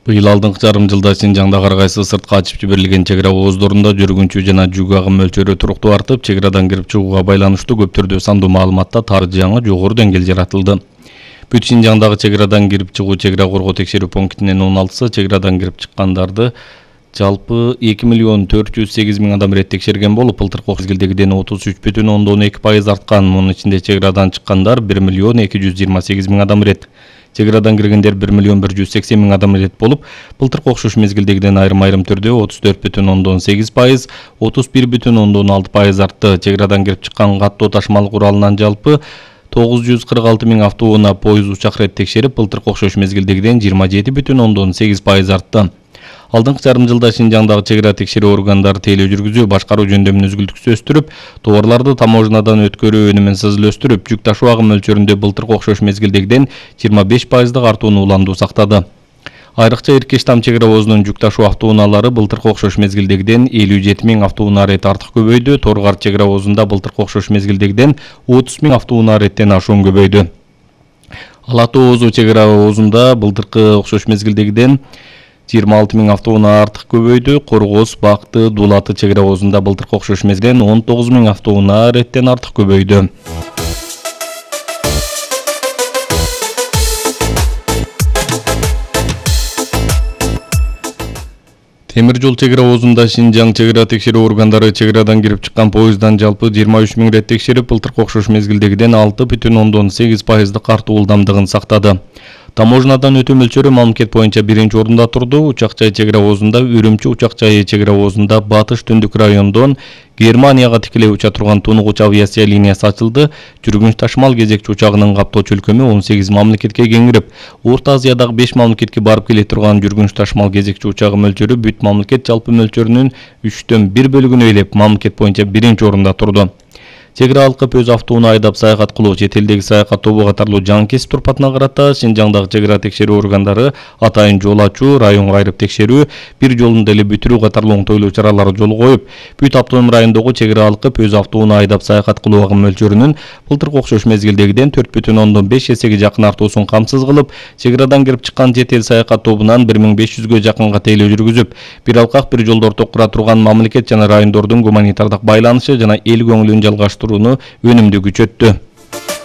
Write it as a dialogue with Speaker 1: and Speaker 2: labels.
Speaker 1: Быйыл алдыңкы жарым жылда Синжаңда ар кайсы сыртка ачып жиберилген чек ара ооздорунда жүргүнчү жана жүк агым мөлчөрү туруктуу артып, чек арадан кирип чыгууга байланыштуу көп түрдүү сандуу маалыматта тар жаңы жогору деңгээл жаратылды. Бүт Синжаңдагы чек арадан кирип чыгуу чек ара коргоо текшерүү пунктинин 16сы чек арадан кирип чыккандарды жалпы 2.408.000 адам ирет текшерген болуп, былтыркы мезгилдегиден 33,2% арткан. Мунун ичинде чек арадан чыккандар 1.228.000 адам ирет. Чек арадан киргендер 1.180.000 адам ирет болуп, былтыркы окшош мезгилдегиден айрым түрдө 34,8%, 31,6% артты. Чек арадан кирип чыккан каттоо ташымал куралынан жалпы 946.000 автоунаа, поезд, учак рет текшерип, былтыркы окшош мезгилдегиден 27,8% артты. Алдыңкы жарым жылда Синжаңдагы чек ара текшерүү органдары тейлөө жүргүзүү, башкаруу жөндөмүн үзгүлтүксүз өстүрүп, товарларды таможнядан өткөрүү өнүмүн сызыл өстүрүп, жүк ташуу агым мөлчөрүндө былтыркы окшош мезгилдегиден 25% артууну уланду сактады. Айрыкча Иркештам чек ара оозунун жүк ташуу автоунаалары былтыркы окшош мезгилдегиден 57.000 автоунаа рет артык көбөйдү. Торгар чек ара оозунда былтыркы окшош мезгилдегиден 30.000 автоунаа реттен ашуун көбөйдү. Ала Тоо оозу чек ара оозунда былтыркы окшош мезгилдегиден 26.000 автоунаа артык көбөйдү. Коргоз, Бакты, Дулаты чек ара оозунда былтыркы окшош мезгилден 19.000 автоунаа реттен артык көбөйдү. Темир жол чек ара оозунда Синжаң чек ара текшерүү органдары чек арадан кирип чыккан поезддан жалпы 23.000 рет текшерип, былтыркы окшош мезгилдегиден 6,8% артуу ылдамдыгын сактады. Таможнядан өтүү мөлчөрү мамлекет боюнча биринчи орунда турду. Учак жай чек ара оозунда, Үрүмчү учак жайы чек ара оозунда батыш түндүк райондон Германияга тикелей уча турган тунугуч авиация линиясы ачылды. Жүргүнч ташымал кезекчи учагынын каптоочу өлкөмү 18 мамлекетке кеңирип, Орто Азиядагы 5 мамлекетке барып келе турган жүргүнч ташымал кезекчи учагы мөлчөрү бүт мамлекет жалпы мөлчөрүнүн 1/3 бөлүгүн ээлеп, мамлекет боюнча биринчи орунда турду. Чек ара алкып өз автоунаа айдап саякат кылуу, чет элдеги саякат тобу катарлуу жаңы кесип турпатына карата Синжаңдагы чек ара текшерүү органдары атайын жол ачуу, районго айрып текшерүү, бир жолунда эле бүтүрүү катарлуу оңтойлуу чаралар жолго коюп, бүт автоном райондогу чек ара алкып өз автоунаа айдап саякат кылуу агым мөлчөрүнүн былтыркы окшош мезгилдегиден 4,5 эсеге жакын артуусун камсыз кылып, чек арадан кирип чыккан жет эл саякат тобунан 1500ге жакынга тейлөө жүргүзүп, бир алкак бир жолду ортокура турган мамлекет жана райондордун гуманитардык байланышы жана эл көңүлүн жалгаштырууну өнүмдүү күчөттү.